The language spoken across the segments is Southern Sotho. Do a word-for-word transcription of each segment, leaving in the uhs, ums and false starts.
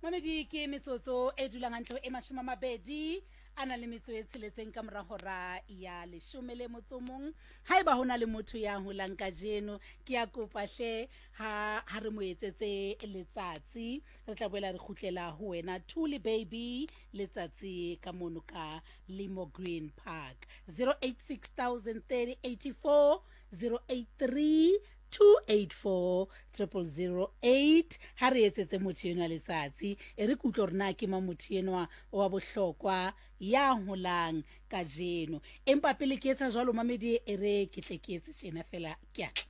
Mamedi ke metsotso e dulang hantle e mashome a mabedi a na le metso e tsheletseng ka mora hora ya leshome le motso mong. Haeba ho na le motho ya holang kajeno, ke a kopa hle ha ha re mo etsetse letsatsi. Re tla boela re kgutlela ho wena Thuli Baby letsatsi ka mono ka Limo Green Park. zero eight six thousand thirty eighty four zero eight three two eight four triple zero eight. Ha re etsetse motho enwa letsatsi, e re ke utlwe hore na ke mang motho enwa wa bohlokwa ya holang kajeno. Empa pele ke etsa jwalo mamedi, e re ke tle ke etse tjena fela, ke a tla.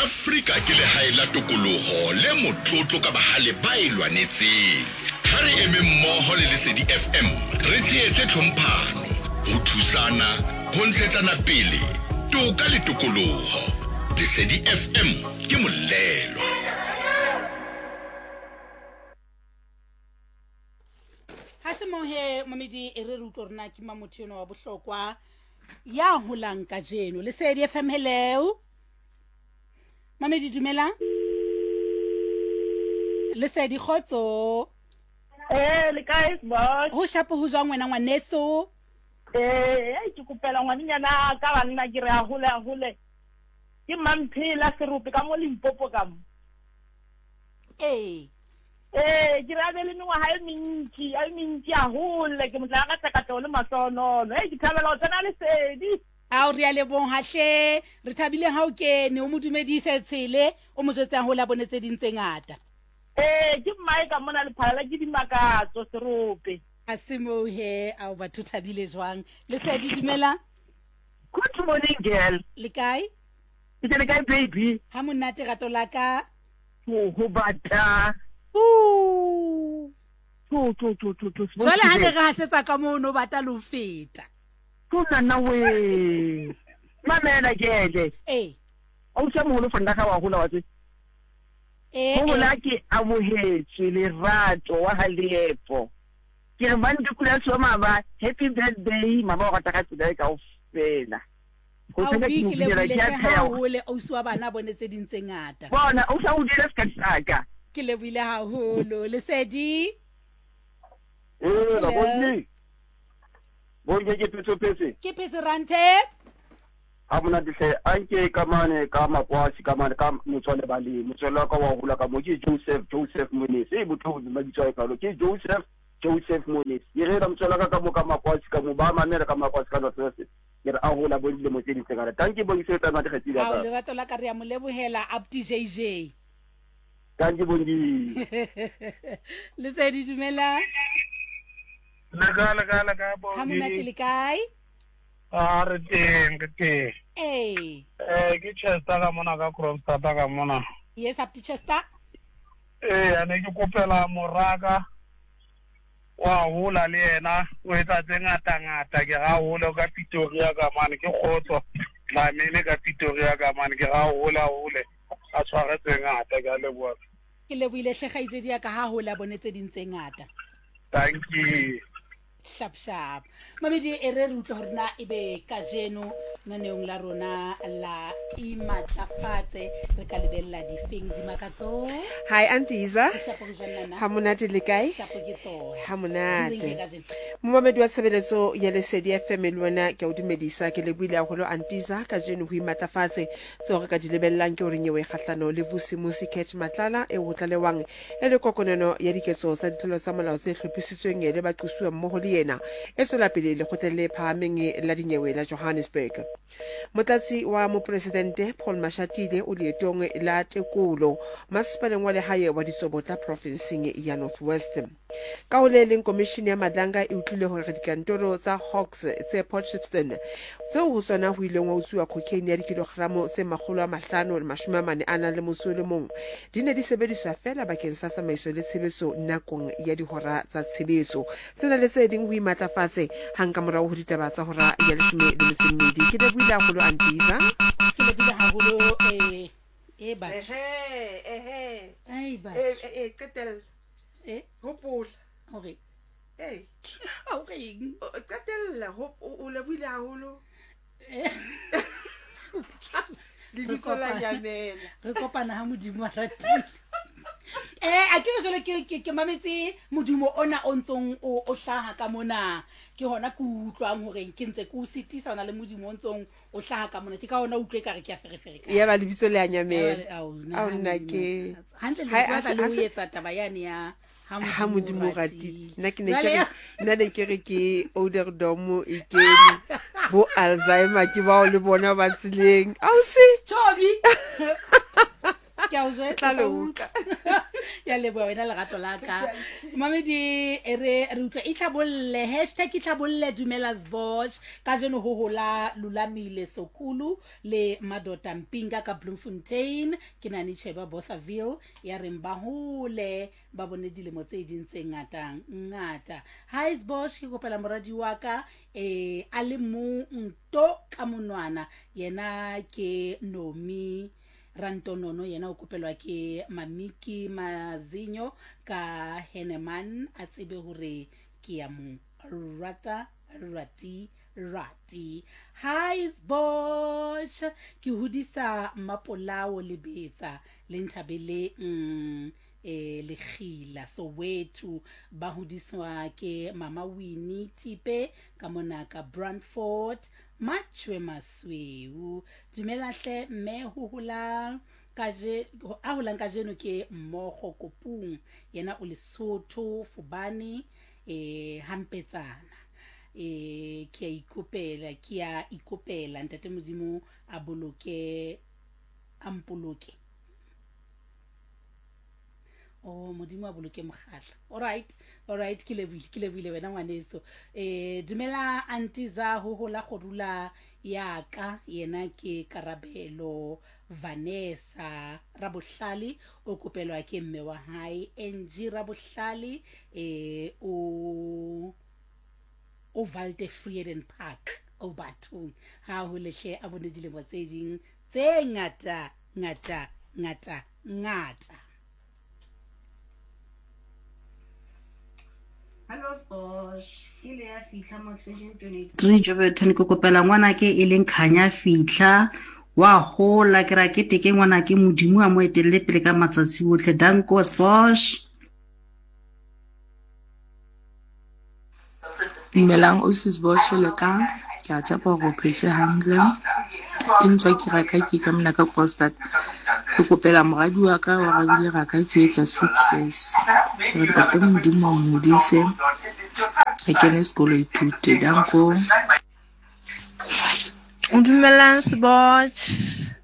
Afrika ke lehae la tokoloho le motlotlo ka bahale ba e lwanetseng. Ha re eme mmoho le Lesedi F M, re tshehetse tlhomphano, ho thusana, ho ntshetsana pele, toka le tokoloho. Lesedi F M ke molelo. Ha se mohe mamedi, e re re utlwe hore na ke mang motho enwa wa bohlokwa ya holang kajeno. Lesedi F M, hello. Mamedi, dumela. Lesedi, kgotso. Eh, le kae, boss? Ho shapo ho jwang wena ngwaneso? Eh, ke kopela ngwanenyana ka banna ke re a hole a hole. Ke Mamphela Serope ka mo Limpopo ka mo. Eh. Eh, ke re a be le mengwaga e mentši, a e mentši a hole, ke motla ka takatlego le mahlohonono. Hei, ke thabela ho tsena Lesedi. Ao, re a leboha hle. Re thabile ha o kene, o mo dumedise tshele, o mo jwetse haholo a bone tse ding tse ngata. Eh, ke mmae ka mona Lephalala ke Dimakatso Serope. A se moo he, ao batho thabile jwang. Lesedi, dumela. Good morning, girl. Le kae? Ke le kae, baby? Ha monate rato la ka. Ho, ho bata. Ooh. To, to, to, to, to. Jwale ha ne re hasetsa ka moo no bata le ho feta. Ko nana we. Mamela kele. Eh. O se moholo fanda ka wa hola wa tse. Eh. Ho hola ke amohetswe lerato wa ha leepo. Ke re ba ntukula so mama, happy birthday mama, o rata ka tsela e kaofela. Ho Ao, tsena ke ke mo lebohile binela, ke a hle pheha. haholo, ausi wa bana bone tse ding tse ngata. Bona, o sa o dira seka saka. Ke lebohile haholo. Lesedi. Eh, la bonne. Bonke ke phetse phetse. Ke phetse rante. Ha monate hle, a nke ka mane ka makwasi ka mane ka motswale ba le motswale wa ka wa hola ka mo ke Joseph Joseph Monesi. E botho mabitso a kalo ke Joseph Joseph Monesi. Ke re la motswale ka ka mo ka makwasi ka mo ba mamela ka makwasi ka North West. Ke re a hola bo dilemo tse ding tse ngata. Thank you bongi se tsa mate kgetsi la Ao, ka. lerato la ka re a mo lebohela Abdi J J. Thank you bongi. Lesedi, dumela. Le kae, le kae, le kae, Bongi? Ha monate, le kae? A re teng, re teng. Eh. Eh, ke Chester ka mona ka Kroonstad ka mona. Yes, Abdi Chester. Eh, a ne ke kopela moraka wa hola le yena, o etsa tse ngata ngata, ke ga hole ka Pretoria ka mane, ke kgotso Dlamini ka Pretoria ka mane, ke ga hola hole a tshware tse ngata, ke a leboha. Ke lebohile hle kgaitsedi ya ka, ha hola bone tse ding tse ngata. Thank you. Sharp sharp. Mamedi, e re re utlwe hore na ebe kajeno naneong la rona la imatlafatse re ka lebella difeng dimakatso. Hi Auntie Iza. Shapo ke jwang nana? Ha monate le kae? Shapo ke tsona. Ha monate. Di reng ke kajeno? Momamedi wa tshebeletso ya Lesedi F M le wena ke a o dumedisa, ke lebohile haholo Auntie Iza. Kajeno ho imatlafatse tseo re ka di lebellang ke hore nyewe kgahlano le Vusimusi Cat Matlala e ho tlalewang e le kokonelo ya diketso tsa ditlolo tsa molao tse hlophisitsweng le baqosuwa mmoho le yena e tswela pele lekgotleng le phahameng la dinyewe la Johannesburg. Motlatsi wa mopresidente Paul Mashatile o leetong la tekolo masepaleng wa lehae wa Ditsobotla profinseng ya North West. Ka ho le leng, komishini ya Madlanga e utlwile hore dikantoro tsa Hawks tse Port Shepstone tseo ho tsona ho ileng wa utsuwa cocaine ya dikilogramo tse makgolo a mahlano le mashome a mane a nang le motso o le mong di ne di sebediswa feela bakeng sa tsamaiso le tshebetso nakong ya dihora tsa tshebetso. Tsena le tse ding ho imatlafatse hang ka morao ho ditaba tsa hora ya leshome le metso e mmedi. Ke lebohile haholo Auntie Iza. Ke lebohile haholo, eh, eh, batho. Ehe, ehe. Ai, batho. Eh, eh, eh, qetella. Eh? Hopola. Hore. Eh. Ha o reng? O, qetella, ho-, o, o lebohile haholo. Eh. Lebitso la Re kopana. nyamela. Re kopana ha Modimo a ratile. Eh a ke re jwale ke ke ke mametse modumo ona o ntsong o o hlaha ka mona. Ke hona ke utlwang hore ke ntse ke o sitisa ona le modimo o ntsong o hlaha ka mona. Ke ka hona utlwe ka re ke a ferefere ka. Ya ba lebitso le a nyamela. Ao Ao nna ke hantle le Hai, bua a se- le a o se- etsa taba yane ya ha ha modimo ratile. Nna ke ne ke Jwale re ya- nna ne ke re ke Ouderdom e kene bo Alzheimer ke bao le bona ba tseleng. Ausi Chobi. Ke a o jwetsa Tla le tla utlwa. Ya leboha wena lerato la ka. Mamedi e re re utlwa itlhabolle hashtag itlhabolle dumela Sbosh kajeno ho hola Lulamile Sokulu le Madota Mpinga ka Bloemfontein ke nane Cheba Bothaville ya reng ba hole ba bone dilemo tse ding tse ngata ngata. Hi Sbosh ke kopela moradi wa ka eh a le mong to ka monwana yena ke Nomi Rantonono yena o kopelwa ke Mamiki Mazinyo ka Heneman a tsebe hore ke ya mo rata rati rati. Hi Sbosh ke hodisa Mapolao Lebetsa le Nthabeleng mm, eh Lekgila Soweto ba hodiswa ke Mama Winnie Thipe ka mona ka Brandfort Matjwe Masweu. Dumela hle mme ho holang kaje a holang kajeno ke Mmogo Kopung yena o Lesotho Fubane eh Hampetsana eh ke a ikopela ke a ikopela ntate Modimo a boloke a mpoloke. Oh Modimo a boloke mokgatla. All right, all right ke lebohile ke lebohile wena ngwaneso. Eh dumela Antiza ho hola gorula ya ka yena ke Karabelo Vanessa Rabohlale o kopelwa ke mme wa hae N G Rabohlale eh o o Walter Frieden Park o bathong ha ho lehle a bone dilemo tse ding tse ngata ngata ngata ngata. Hello Sbosh, ke le ya fihla mo extension twenty-three Jouberton ke kopela ngwanake e leng Khanya fihla wa hola ke ra keteke ngwanake Modimo a mo etelle pele ka matsatsi otlhe. Danko Sbosh. Dumelang ausi Sbosh le ka ke a tshepa hore o phetse hantle. Ke ntswa ke raka ke ka mona ka Kroonstad. Ke kopela moradi wa ka wa rabile raka ke etsa six years. Ke re ntate Modimo a mo hodise a kene sekolo a ithute. Danko. Dumelang Sbosh.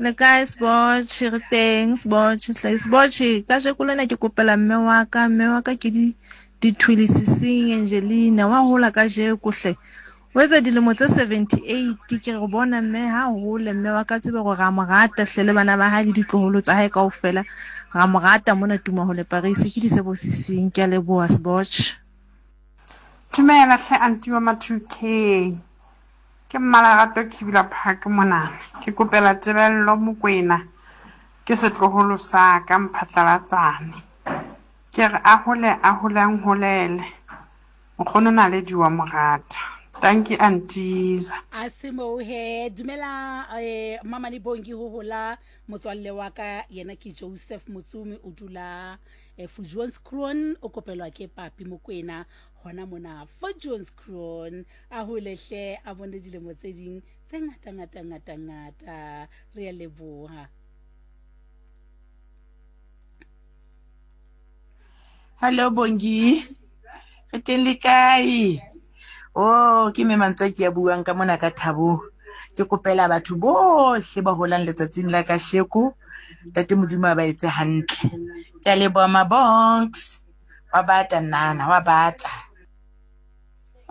Le kae Sbosh? Re teng Sbosh. Hle Sbosh kajeko lena ke kopela mme wa ka, mme wa ka ke di Dithwilisising Angelina wa hola kajeko hle. O etsa dilemo tse seventy-eight ke re bona mme ha hole mme wa ka tsebe hore ra mo rata hle le bana ba hae le ditloholo tsa hae kaofela. Ra mo rata mona Tumahole Paris ke Disebosising. Ke a leboha Sbosh. Dumela hle aunty wa ma two K. Ke Mmalerato Kibula Park monana. Ke kopela Tebello Mokwena ke setloholo sa ka Mphatlalatsane. Ke re a hole a hole a nholele. Nkgono Naledi wa mo rata. Dankie Antiza. A se moo he dumela eh Mamane Bongi ho hola motswalle wa ka yena ke Joseph Motsumi o dula eh, Fujoonskroon o kopelwa ke Papi Mokwena hona mona Fujoonskroon a holehle a bone dilemo tse ding tse ngata ngata ngata ngata re a leboha. Hello Bongi, re teng le kae? Oh, ke mme mantswe ke a buang ka mona ka thabo. Ke kopela batho bohle ba holang letsatsing la kasheko. Ntate Modimo a ba etse hantle. Ke a leboha Mabonks. Wa bata nana, wa bata.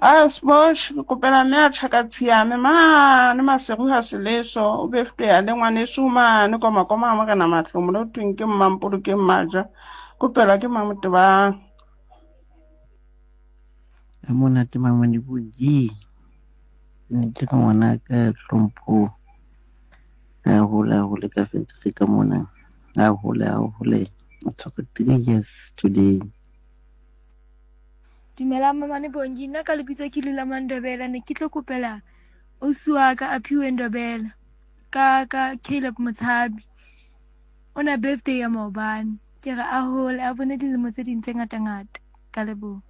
Ah, Sbosh, ke kopela mme a tjhaka tshiame mane Maseru ha Seleso o befte ya le ngwaneso mane koma koma morena Mahlomola o thweng ke Mmampolo ke Mmaja. Kopelwa ke Mamotebang. Ha monate Mamane Bongi. Ke ne ke re ngwana ka hlompho a hole a hole ka fentere ka mona. A hole a hole. O tshwere three years today. Dumelang Mamane Bongi, nna ka lebitso ke Lula Mandobela, ne ke tlo kopela ausi wa ka Aphiwe Ndobela ka ka Caleb Motshabi. O na birthday ya maobane. Ke re a hole a bone dilemo tse ding tse ngatangata. Ka leboha.